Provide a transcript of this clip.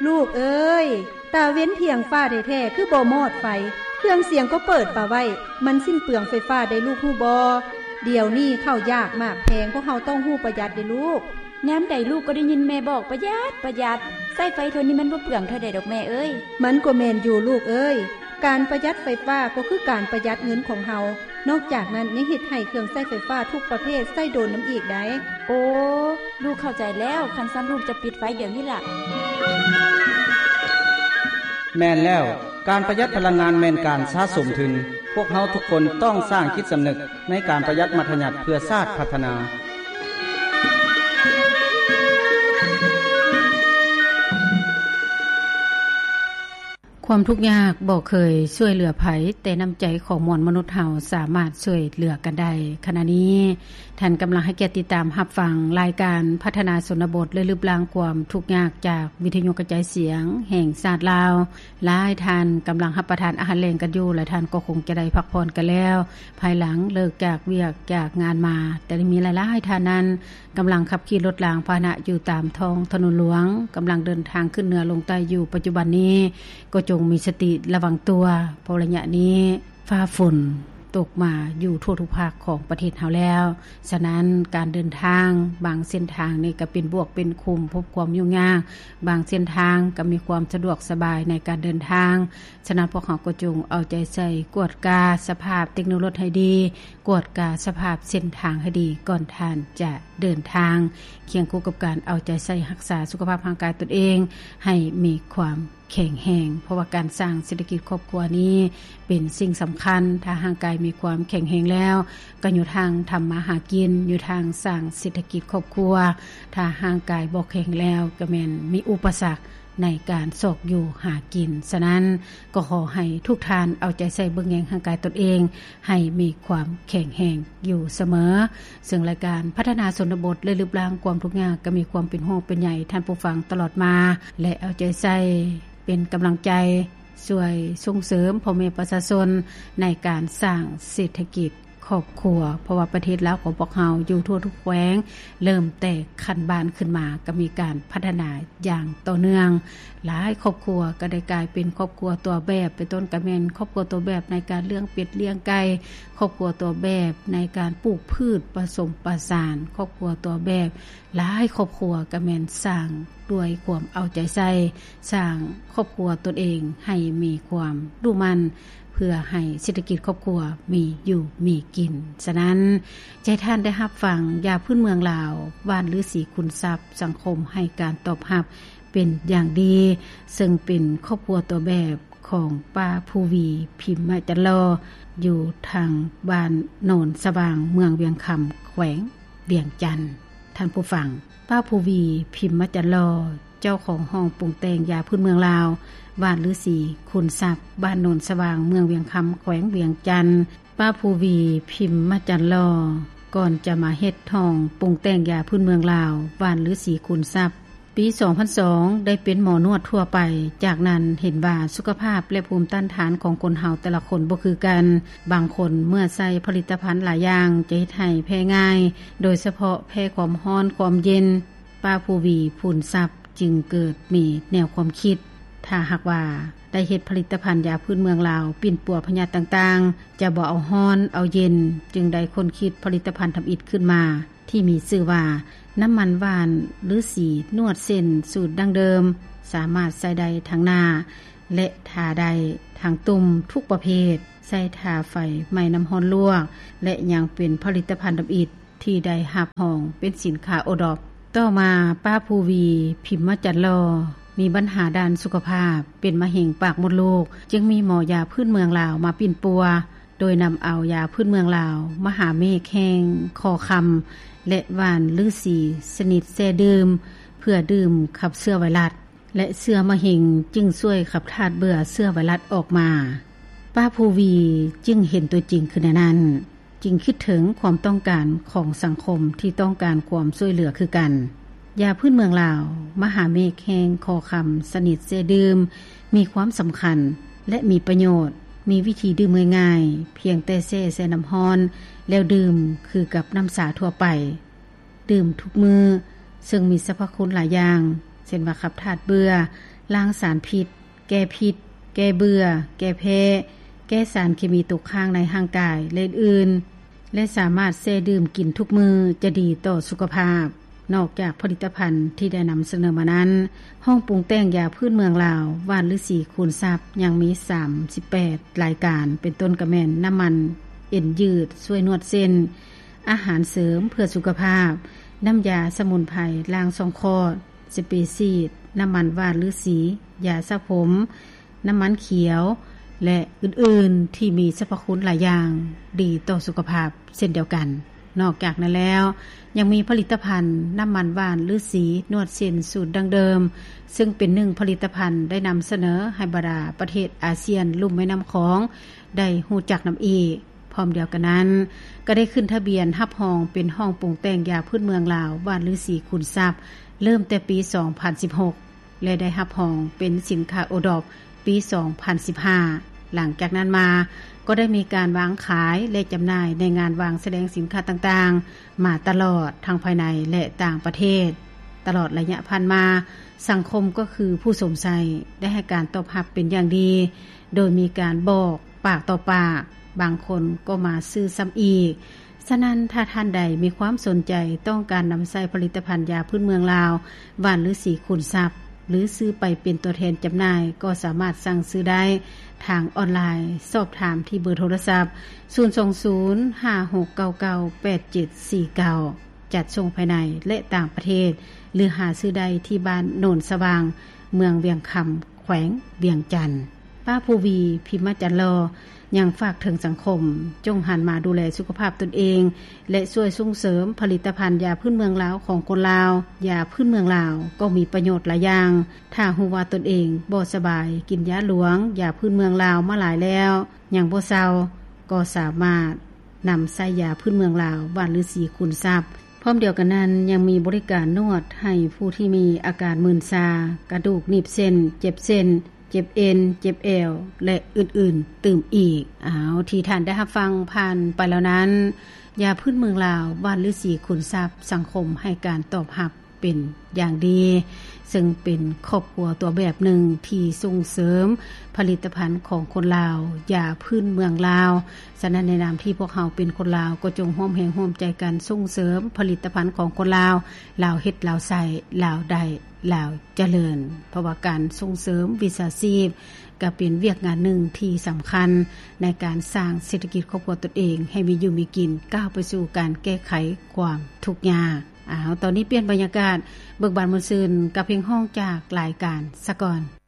ລູກເອີຍ, ຕາເວັນພຽງຟ້າແທ້ໆ ຄືບໍ່ມອດໄຟ, ເຄື່ອງສຽງກໍເປີດປະໄວ້, ມັນສິ້ນເປືອງໄຟຟ້າໄດ້ລູກຮູ້ບໍ່? ດຽວນີ້ເຂົ້າຢາກໝາກແພງ, ພວກເຮົາຕ້ອງຮູ້ປະຢັດເດ້ລູກ. ຍາມໃດລູກກໍໄດ້ຍິນແມ່ບອກປະຢັດ, ປະຢັດ, ໃຊ້ໄຟເທົ່ານີ້ມັນບໍ່ເປືອງເທົ່າໃດດອກແມ່ເອີຍ. ມັນກໍແມ່ນຢູ່ລູກເອີຍ, ການປະຢັດໄຟຟ້າກໍຄືການປະຢັດເງິນຂອງເຮົາ. ນອກຈາກນັ້ນຍັງເຮັດໃຫ້ເຄື່ອງໃຊ້ໄຟຟ້າທຸກປະເພດໃຊ້ດົນນຳອີກໄດ໋. ໂອ້ ລູກເຂົ້າໃຈແລ້ວ, ຄັນຊັ້ນລູກຈະປິດໄຟດຽວນີ້ລະ. ແມ່ນແລ້ວ, ການປະຢັດພະລັງງານແມ່ນການສະສົມທຶນ. ພວກເຮົາທຸກຄົນຕ້ອງສ້າງຈິດສຳນຶກໃນການປະຢັດມັດທະຍັດເພື່ອຊາດພັດທະນາ. ຄວາມທຸກຍາກບໍ່ເຄີຍຊ່ວຍເຫຼືອໃຜ, ແຕ່ນ້ຳໃຈຂອງມວນມະນຸດເຮົາສາມາດຊ່ວຍເຫຼືອກັນໄດ້. ຂະນະນີ້ ທ່ານກຳລັງໃຫ້ກຽດຕິດຕາມຮັບຟັງລາຍການພັດທະນາຊົນນະບົດ ແລະ ລຶບລ້າງຄວາມທຸກຍາກ ຈາກວິທະຍຸກະຈາຍສຽງແຫ່ງຊາດລາວ. ຫຼາຍທ່ານກຳລັງຮັບປະທານອາຫານແລງກັນຢູ່ ແລະ ທ່ານກໍຄົງຈະໄດ້ພັກຜ່ອນກັນແລ້ວ ພາຍຫຼັງເລີກຈາກວຽກຈາກງານມາ. ແຕ່ມີຫຼາຍໆທ່ານນັ້ນ ກຳລັງຂັບຂີ່ລົດລາງພາຫະນະຢູ່ຕາມທ້ອງຖະໜົນຫຼວງ, ກຳລັງເດີນທາງຂຶ້ນເໜືອລົງໃຕ້ຢູ່ປັດຈຸບັນນີ້, ກໍຈົ່ງມີສະຕິລະວັງຕົວ, ເພາະໄລຍະນີ້ຟ້າຝົນຕົກມາຢູ່ທົ່ວທຸກພາກຂອງປະເທດເຮົາແລ້ວ. ສະນັ້ນ ການເດີນທາງບາງເສັ້ນທາງນີ້ກໍເປັນບວກເປັນຂຸມ, ພົບຄວາມຫຍຸ້ງຍາກ, ບາງເສັ້ນທາງກໍມີຄວາມສະດວກສະບາຍໃນການເດີນທາງ. ສະນັ້ນ ພວກເຮົາກໍຈົ່ງເອົາໃຈໃສ່ກວດກາສະພາບເຕັກໂນລົດໃຫ້ດີ, ກວດກາສະພາບເສັ້ນທາງໃຫ້ດີ ກ່ອນທ່ານຈະເດີນທາງ, ຄຽງຄູ່ກັບການເອົາໃຈໃສ່ຮັກສາສຸຂະພາບຮ່າງກາຍຕົນເອງໃຫ້ມີຄວາມແຂງແຮງ, ເພາະວ່າການສ້າງເສດຖະກິດຄອບຄົວນີ້ເປັນສິ່ງສຳຄັນ. ຖ້າຮ່າງກາຍມີຄວາມແຂງແຮງແລ້ວ, ກໍຢູ່ທາງທຳມາຫາກິນ, ຢູ່ທາງສ້າງເສດຖະກິດຄອບຄົວ. ຖ້າຮ່າງກາຍບໍ່ແຂງແລ້ວ, ກໍແມ່ນມີອຸປະສັກ ໃນການຊອກຢູ່ຫາກິນ. ສະນັ້ນ ກໍຂໍໃຫ້ທຸກທ່ານເອົາໃຈໃສ່ເບິ່ງແຍງຮ່າງກາຍຕົນເອງໃຫ້ມີຄວາມແຂງແຮງຢູ່ສະເໝີ. ເຊິ່ງລາຍການພັດທະນາຊົນນະບົດ ແລະ ລຶບລ້າງຄວາມທຸກຍາກ ກໍມີຄວາມເປັນຫ່ວງເປັນໃຍທ່ານຜູ້ຟັງຕະຫຼອດມາ ແລະ ເອົາໃຈໃສ່ເປັນກຳລັງໃຈ ຊ່ວຍສົ່ງເສີມພໍ່ແມ່ປະຊາຊົນໃນການສ້າງເສດຖະກິດ ຄອບຄົວ, ເພາະວ່າປະເທດລາວຂອງພວກເຮົາຢູ່ທົ່ວທຸກແຂວງ ເລີ່ມແຕ່ຂັ້ນບ້ານຂຶ້ນມາ ກໍມີການພັດທະນາຢ່າງຕໍ່ເນື່ອງ. ຫຼາຍຄອບຄົວກໍໄດ້ກາຍເປັນຄອບຄົວຕົວແບບ, ເປັນຕົ້ນກໍແມ່ນຄອບຄົວຕົວແບບໃນການລ້ຽງເປັດລ້ຽງໄກ່, ຄອບຄົວຕົວແບບໃນການປູກພືດປະສົມປະສານ, ຄອບຄົວຕົວແບບ ຫຼາຍຄອບຄົວກໍແມ່ນສ້າງດ້ວຍຄວາມເອົາໃຈໃສ່, ສ້າງຄອບຄົວຕົນເອງໃຫ້ມີຄວາມດຸໝັ່ນ ເພື່ອໃຫ້ເສດຖະກິດຄອບຄົວມີຢູ່ມີກິນ. ສະນັ້ນ ຈະໃຫ້ທ່ານໄດ້ຮັບຟັງຢາພື້ນເມືອງລາວ ຫວ່ານລືສີຄູນຊັບ, ສັງຄົມໃຫ້ການຕອບຮັບເປັນຢ່າງດີ, ເຊິ່ງເປັນຄອບຄົວຕົວແບບຂອງປ້າພູວີ ພິມມະຈັນຫຼໍ່ ຢູ່ທາງບ້ານໂນນສະຫວ່າງ ເມືອງວຽງຄຳ ແຂວງວຽງຈັນ. ທ່ານຜູ້ຟັງ, ປ້າພູວີ ພິມມະຈັນຫຼໍ່ ເຈົ້າຂອງຫ້ອງປຸງແຕ່ງຢາພື້ນເມືອງລາວ ຫວ່ານລືສີຄູນຊັບ, ບ້ານໂນນສະຫວ່າງ ເມືອງວຽງຄຳ ແຂວງວຽງຈັນ. ປ້າພູວີ ພິມມະຈັນຫຼໍ່ ກ່ອນຈະມາເຮັດຫ້ອງປຸງແຕ່ງຢາພື້ນເມືອງລາວ ຫວ່ານລືສີຄູນຊັບ, ປີສອງພັນສອງ ໄດ້ເປັນໝໍນວດທົ່ວໄປ. ຈາກນັ້ນເຫັນວ່າສຸຂະພາບ ແລະ ພູມຕ້ານທານຂອງຄົນເຮົາແຕ່ລະຄົນບໍ່ຄືກັນ. ບາງຄົນເມື່ອໃຊ້ຜະລິດຕະພັນຫຼາຍຢ່າງ ຈະເຮັດໃຫ້ແພ້ງ່າຍ, ໂດຍສະເພາະແພ້ຄວາມຮ້ອນ, ຄວາມເຢັນ. ປ້າພູວີ ພູນຊັບ ຈຶ່ງເກີດມີແນວຄວາມຄິດ, ຖ້າຫາກວ່າໄດ້ເຮັດຜະລິດຕະພັນຢາພື້ນເມືອງລາວ ປິ່ນປົວພະຍາດຕ່າງໆ, ຈະບໍ່ເອົາຮ້ອນເອົາເຢັນ, ຈຶ່ງໄດ້ຄົ້ນຄິດຜະລິດຕະພັນທຳອິດຂຶ້ນມາ ທີ່ມີຊື່ວ່າ ນ້ຳມັນຫວ່ານລືສີນວດເສັ້ນສູດດັ້ງເດີມ, ສາມາດໃຊ້ໄດ້ທັງໜ້າ ແລະ ທາໄດ້ທັງຕຸ່ມທຸກປະເພດ, ໃຊ້ທາໄຟໄໝ້ນ້ຳຮ້ອນລວກ ແລະ ຍັງເປັນຜະລິດຕະພັນທຳອິດ ທີ່ໄດ້ຮັບຮອງເປັນສິນຄ້າໂອດອບ. ຕໍ່ມາ ປ້າພູວີ ພິມມະຈັນຫຼໍ່ ມີບັນຫາດ້ານສຸຂະພາບ ເປັນມະເຮັງປາກມົດລູກ, ຈຶ່ງມີໝໍຢາພື້ນເມືອງລາວມາປິ່ນປົວ, ໂດຍນຳເອົາຢາພື້ນເມືອງລາວ ມະຫາເມກແຫ່ງຄໍຄຳ ແລະ ຫວ່ານລືສີຊະນິດແຊ່ດື່ມ ເພື່ອດື່ມຂັບເຊື້ອໄວຣັສ ແລະ ເຊື້ອມະເຮັງຈຶ່ງຊ່ວຍຂັບທາດເບື່ອເຊື້ອໄວຣັສອອກມາ. ປ້າພູວີຈຶ່ງເຫັນຕົວຈິງຄືແນວນັ້ນ, ຈຶ່ງຄິດເຖິງຄວາມຕ້ອງການຂອງສັງຄົມທີ່ຕ້ອງການຄວາມຊ່ວຍເຫຼືອຄືກັນ. ຢາພື້ນເມືອງລາວ ມະຫາເມກແຫ່ງຄໍຄຳຊະນິດແຊ່ດື່ມ ມີຄວາມສຳຄັນ ແລະ ມີປະໂຫຍດ, ມີວິທີດື່ມງ່າຍໆ, ພຽງແຕ່ແຊ່ໃສ່ນ້ຳຮ້ອນແລ້ວດື່ມ ຄືກັບນ້ຳຊາທົ່ວໄປ. ດື່ມທຸກມື້, ເຊິ່ງມີສັບພະຄຸນຫຼາຍຢ່າງ, ເຊັ່ນວ່າຂັບທາດເບື່ອ, ລ້າງສານພິດ, ແກ້ພິດ, ແກ້ເບື່ອ, ແກ້ແພ້, ແກ້ສານເຄມີຕົກຄ້າງໃນຮ່າງກາຍ ແລະອື່ນໆ ແລະສາມາດແຊ່ດື່ມກິນທຸກມື້ ຈະດີຕໍ່ສຸຂະພາບ. ນອກຈາກຜະລິດຕະພັນທີ່ໄດ້ນຳສະເໜີມານັ້ນ, ຫ້ອງປຸງແຕ່ງຢາພື້ນເມືອງລາວ ຫວ່ານລືສີຄູນຊັບ ຍັງມີສາມສິບແປດລາຍການ ເປັນຕົ້ນກະແມ່ນນ້ຳມັນເອັນຍືດ ຊ່ວຍນວດເສັ້ນ, ອາຫານເສີມເພື່ອສຸຂະພາບ, ນ້ຳຢາສະໝຸນໄພລ້າງຊ່ອງຄອດ, ສະເປຊີດ, ນ້ຳມັນຫວ່ານລືສີ, ຢາສະຜົມ, ນ້ຳມັນຂຽວ ແລະອື່ນໆ ທີ່ມີສັບພະຄຸນຫຼາຍຢ່າງ ດີຕໍ່ສຸຂະພາບເຊັ່ນດຽວກັນ. ນອກຈາກນັ້ນແລ້ວ ຍັງມີຜະລິດຕະພັນນ້ຳມັນຫວ່ານລືສີນວດເສັ້ນສູດດັ້ງເດີມ ເຊິ່ງເປັນໜຶ່ງຜະລິດຕະພັນໄດ້ນຳສະເໜີໃຫ້ບັນດາປະເທດອາຊຽນລຸ່ມແມ່ນ້ຳຂອງໄດ້ຮູ້ຈັກນຳອີກ. ພ້ອມດຽວກັນນັ້ນ ກໍໄດ້ຂຶ້ນທະບຽນຮັບຮອງເປັນຫ້ອງປຸງແຕ່ງຢາພື້ນເມືອງລາວ ຫວ່ານລືສີຄູນຊັບ ເລີ່ມແຕ່ປີສອງພັນສິບຫົກ ແລະ ໄດ້ຮັບຮອງເປັນສິນຄ້າໂອດອບປີສອງພັນສິບຫ້າ. ຫຼັງຈາກນັ້ນມາ ກໍໄດ້ມີການວາງຂາຍ ແລະ ຈຳໜ່າຍໃນງານວາງສະແດງສິນຄ້າຕ່າງໆ ມາຕະຫຼອດ ທັງພາຍໃນ ແລະ ຕ່າງປະເທດ. ຕະຫຼອດໄລຍະຜ່ານມາ, ສັງຄົມກໍຄືຜູ້ຊົມໃຊ້ ໄດ້ໃຫ້ການຕອບຮັບເປັນຢ່າງດີ, ໂດຍມີການບອກປາກຕໍ່ປາກ, ບາງຄົນກໍມາຊື້ຊ້ຳອີກ. ສະນັ້ນ, ຖ້າທ່ານໃດມີຄວາມສົນໃຈຕ້ອງການນຳໃຊ້ຜະລິດຕະພັນຢາພື້ນເມືອງລາວ ຫວ່ານລືສີຄູນຊັບ ຫຼື ຊື້ໄປເປັນຕົວແທນຈຳໜ່າຍ ກໍສາມາດສັ່ງຊື້ໄດ້ທາງອອນລາຍ. ສອບຖາມທີ່ເບີໂທລະສັບ ສູນສອງສູນ ຫ້າຫົກເກົ້າເກົ້າ ແປດເຈັດສີ່ເກົ້າ ຈັດສົ່ງພາຍໃນ ແລະ ຕ່າງປະເທດ ຫຼື ຫາຊື້ໄດ້ທີ່ບ້ານໂນນສະຫວ່າງ ເມືອງວຽງຄຳ ແຂວງວຽງຈັນ. ປ້າພູວີ ພິມມະຈັນຫຼໍ່ ຍັງຝາກເຖິງສັງຄົມ ຈົ່ງຫັນມາດູແລສຸຂະພາບຕົນເອງ ແລະ ຊ່ວຍສົ່ງເສີມຜະລິດຕະພັນຢາພື້ນເມືອງລາວຂອງຄົນລາວ. ຢາພື້ນເມືອງລາວກໍມີປະໂຫຍດຫຼາຍຢ່າງ. ຖ້າຮູ້ວ່າຕົນເອງບໍ່ສະບາຍ, ກິນຢາຫຼວງ, ຢາພື້ນເມືອງລາວມາຫຼາຍແລ້ວ ຍັງບໍ່ເຊົາ, ກໍສາມາດນຳໃຊ້ຢາພື້ນເມືອງລາວ ຫວ່ານລືສີຄູນຊັບ. ພ້ອມດຽວກັນນັ້ນ ຍັງມີບໍລິການນວດໃຫ້ຜູ້ທີ່ມີອາການມື່ນຊາ, ກະດູກໜີບເສັ້ນ, ເຈັບເສັ້ນ, ເຈັບເອັນ, ເຈັບແອວ ແລະ ອື່ນໆ ຕື່ມອີກ. ອ້າວ ທີ່ທ່ານໄດ້ຮັບຟັງຜ່ານໄປແລ້ວນັ້ນ, ຢາພື້ນເມືອງລາວ ຫວ່ານລືສີຄູນຊັບ ສັງຄົມໃຫ້ການຕອບຮັບເປັນຢ່າງດີ, ເຊິ່ງເປັນຄອບຄົວຕົວແບບໜຶ່ງທີ່ສົ່ງເສີມຜະລິດຕະພັນຂອງຄົນລາວ, ຢາພື້ນເມືອງລາວ. ສະນັ້ນ ໃນນາມທີ່ພວກເຮົາເປັນຄົນລາວ ກໍຈົ່ງຮ່ວມແຮງຮ່ວມໃຈກັນສົ່ງເສີມຜະລິດຕະພັນຂອງຄົນລາວ. ລາວເຮັດ ລາວໃຊ້, ລາວໄດ້ ລາວຈະເລີນ. ເພາະວ່າການສົ່ງເສີມວິຊາຊີບ ກໍເປັນວຽກງານໜຶ່ງທີ່ສຳຄັນໃນການສ້າງເສດຖະກິດຄອບຄົວຕົນເອງໃຫ້ມີຢູ່ມີກິນ, ກ້າວໄປສູ່ການແກ້ໄຂຄວາມທຸກຍາກ. ອ້າວ ຕອນນີ້ປ່ຽນບັນຍາກາດ, ເບີກບານມ່ວນຊື່ນກັບເພງຮ້ອງຈາກລາຍການສາກ່ອນ.